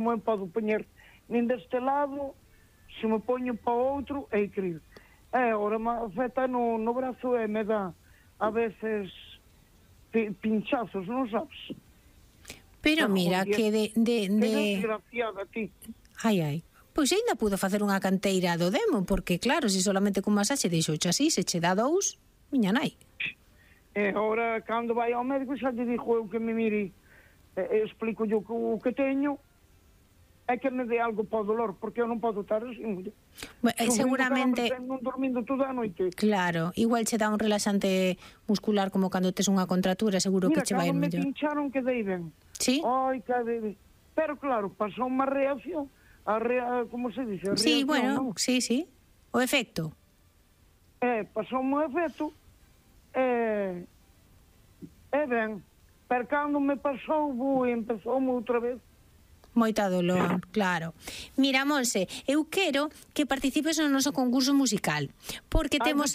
me podo poñer nin deste lado, se me poño para o outro, é incrível. Ahora me afecta no brazo e me dá a veces pinchazos, non sabes? Pero mira, que Que desgraciada ti. Ai. Pois ainda pudo facer unha canteira do demo, porque claro, se solamente con masaxe deixouche así, se che dá 2, miña nai. E agora, cando vai ao médico, xa lle dixo eu que me mire, explico yo o que teño, é que me dé algo para o dolor, porque eu non podo estar así, muller. Seguramente non dormindo toda a noite. Claro, igual che dá un relaxante muscular como cando tes unha contratura, seguro que che vai mellor. mellor. Mira, cando me pincharon quedei ben. Sí? Ai, quedei ben. Pero claro, pasou unha reacción, como se dice? Sí, reacción, bueno, ¿no? sí. O efecto. Pasou un efecto, ben. Pero cando me pasou, empezoume outra vez. Moita dolor, claro. Mira, Monse, eu quero que participes no noso concurso musical, porque temos...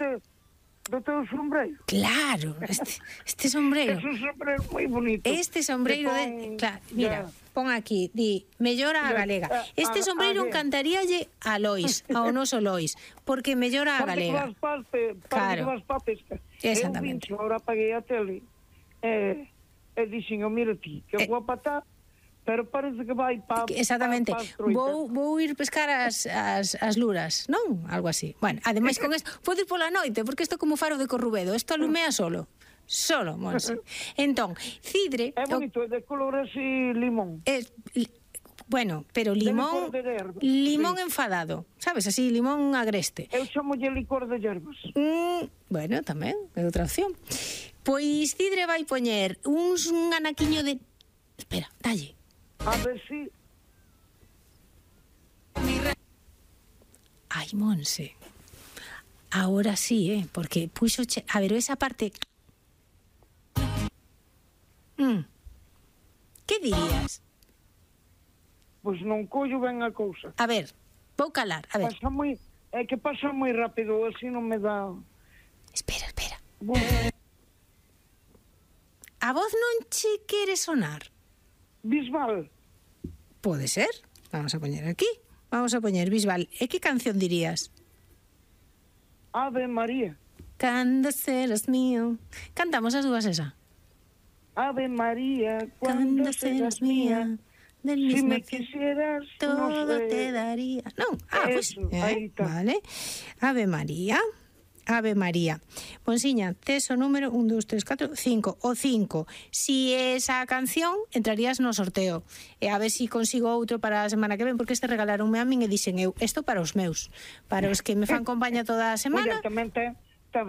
Do teu sombreiro. Claro, este sombreiro. É un sombreiro moi bonito. Este sombreiro claro, mira, pon aquí, di, mellora a galega. Este sombreiro encantaríalle a Lois, ao noso Lois, porque mellora a galega. Claro. Exactamente. Eu agora apaguei a tele e dixen, mira ti, que guapa está, pero parece que vai para... Exactamente. Vou ir pescar as luras, non? Algo así. Bueno, ademais con isto, podo ir pola noite, porque isto é como faro de Corrubedo, isto alumea solo, Monse. Entón, cidre... É bonito, é de color así limón. Bueno, pero limón enfadado, sabes, así, limón agreste. Eu chamolle licor de hierbas. Bueno, tamén, é outra opción. Pois cidre vai poñer un anaquiño de... Espera, dalle. A ver si... Ai, Monse. Ahora sí, porque puxo... A ver, esa parte... Que dirías? Pois non collo ben a cousa. A ver, vou calar, a ver. É que pasa moi rápido, así non me dá... Espera. A voz non che quere sonar? Bisbal. Pode ser. Vamos a poñer aquí. Vamos a poñer Bisbal. E que canción dirías? Ave María. Cando serás mío. Cantamos as dúas esa. Ave María, cuando serás mía. Del si mismo me quisieras, todo te daría. Non, pues, aí está. Vale. Ave María. Ave María. Monsiña, tes o número 1, 2, 3, 4, 5. O 5. Si esa canción, entrarías no sorteo. E a ver si consigo outro para a semana que ven, porque este regalaronme a min e dixen eu, isto para os meus. Para os que me fan compañía toda a semana. Oye,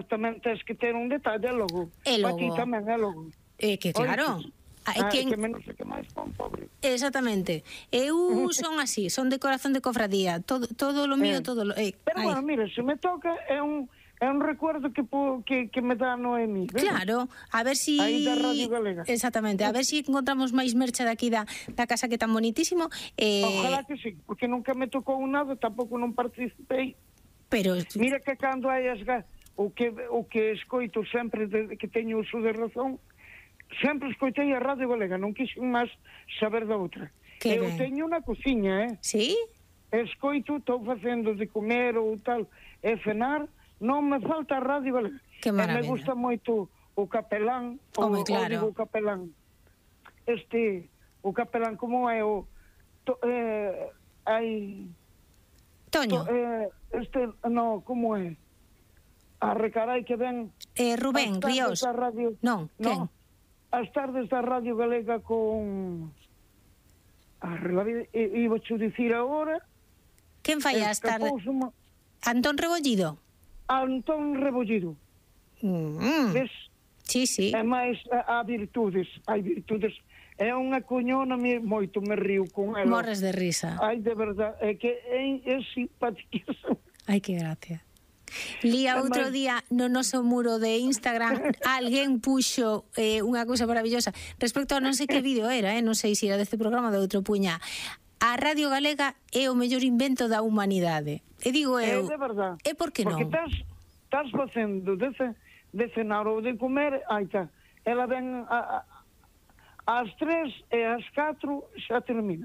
tamén tens que ter un detalle logo. E logo. Aquí tamén é logo. Que claro. Que menos que máis pon, pobre. Exactamente. Eu son así, son de corazón de cofradía. Todo lo mío, todo lo... Pero bueno, mira, se me toca, é un recuerdo que me dá Noemí. Claro, a ver si... Aí da Radio Galega. Exactamente, a ver si encontramos máis mercha daqui da casa que é tan bonitísimo. Ojalá que sí, porque nunca me tocou nada, tampouco non participei. Pero... Mira que cando hai o que escoito sempre que teño uso de razón, sempre escoitei a Radio Galega, non quixen máis saber da outra. Eu teño unha cociña, Sí? Escoito, estou facendo de comer ou tal, e cenar, non me falta a Radio Galega. Que maravilla. Me gusta moito o capelán, o capelán. O capelán, como é o... Toño. Como é? A recarai que ven... Rubén Ríos. Non, quen? As tardes da Radio Galega con... Iba a dicir agora... Quen fai as tardes? Antón Rebollido. Antón Rebollido. Ves? Sí. É máis, hai virtudes. É unha coñona moito, me río con ela. Morres de risa. Ai, de verdade, é que é simpaticísimo. Ai, que gracia. Lía outro día no noso muro de Instagram alguén puxo unha cousa maravillosa respecto a non sei que vídeo era, non sei se era deste programa ou de outro, puña: a Radio Galega é o mellor invento da humanidade. E digo eu, é de verdade. E por que non? Porque estás facendo de cenar ou de comer, aí está, ela ven ás 3 e ás 4 xa termina.